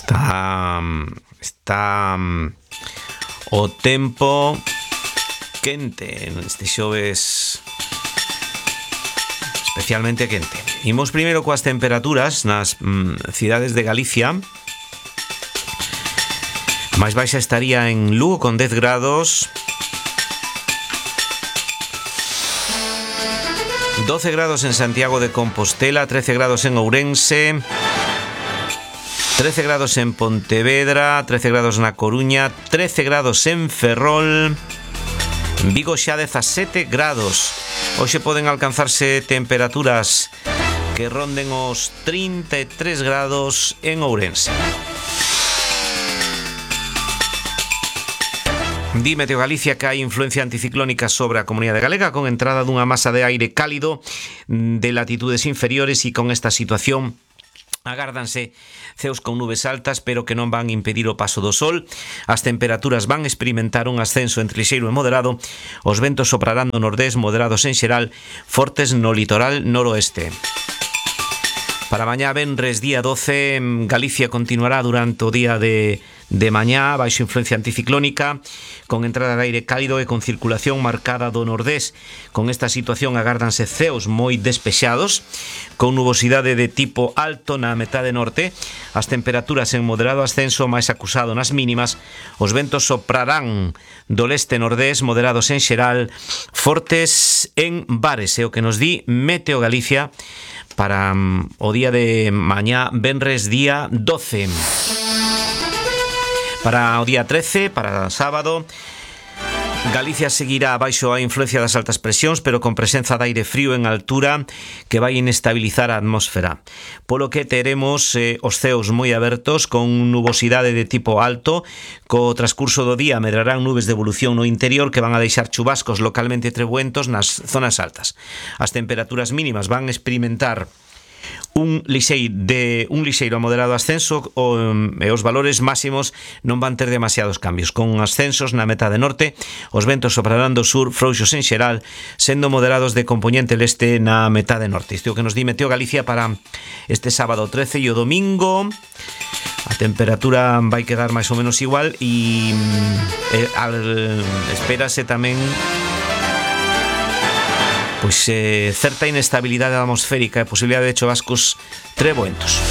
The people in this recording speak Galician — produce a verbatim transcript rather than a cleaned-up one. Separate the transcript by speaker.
Speaker 1: Está está o tempo quente este xoves, especialmente quente. Imos primeiro coas temperaturas nas mm, cidades de Galicia. A máis baixa estaría en Lugo con dez grados, doce grados en Santiago de Compostela, trece grados en Ourense, trece grados en Pontevedra, trece grados na Coruña, trece grados en Ferrol, en Vigo xa dezasete grados. Hoxe poden alcanzarse temperaturas que ronden os trinta e tres grados en Ourense. Di Meteo Galicia que hai influencia anticiclónica sobre a comunidade galega con entrada dunha masa de aire cálido de latitudes inferiores, e con esta situación agárdanse ceos con nubes altas, pero que non van impedir o paso do sol. As temperaturas van experimentar un ascenso entre lixeiro e moderado. Os ventos soprarán do nordés, moderados en xeral, fortes no litoral noroeste. Para mañá venres día doce, Galicia continuará durante o día de, de mañá baixo influencia anticiclónica, con entrada de aire cálido e con circulación marcada do nordés. Con esta situación agárdanse ceos moi despexados, con nubosidade de tipo alto na metade norte. As temperaturas en moderado ascenso, máis acusado nas mínimas. Os ventos soprarán do leste nordés, moderados en xeral, fortes en bares, é o que nos di Meteo Galicia para um, o día de mañá venres día doce. Para o día trece, para sábado, Galicia seguirá baixo a influencia das altas presións, pero con presenza de aire frío en altura que vai inestabilizar a atmósfera, polo que teremos eh, os ceos moi abertos con nubosidade de tipo alto. Co transcurso do día medrarán nubes de evolución no interior que van a deixar chubascos localmente trebuentos nas zonas altas. As temperaturas mínimas van a experimentar un lixeiro de un lixeiro a moderado ascenso, o, e os valores máximos non van ter demasiados cambios, con ascensos na metade norte. Os ventos soprarán do sur frouxos en xeral, sendo moderados de compoñente leste na metade norte. Isto é o que nos di Meteo Galicia para este sábado trece, e o domingo a temperatura vai quedar máis ou menos igual, e eh, al, espérase tamén pois eh, certa inestabilidade atmosférica e posibilidade de chubascos treboentos.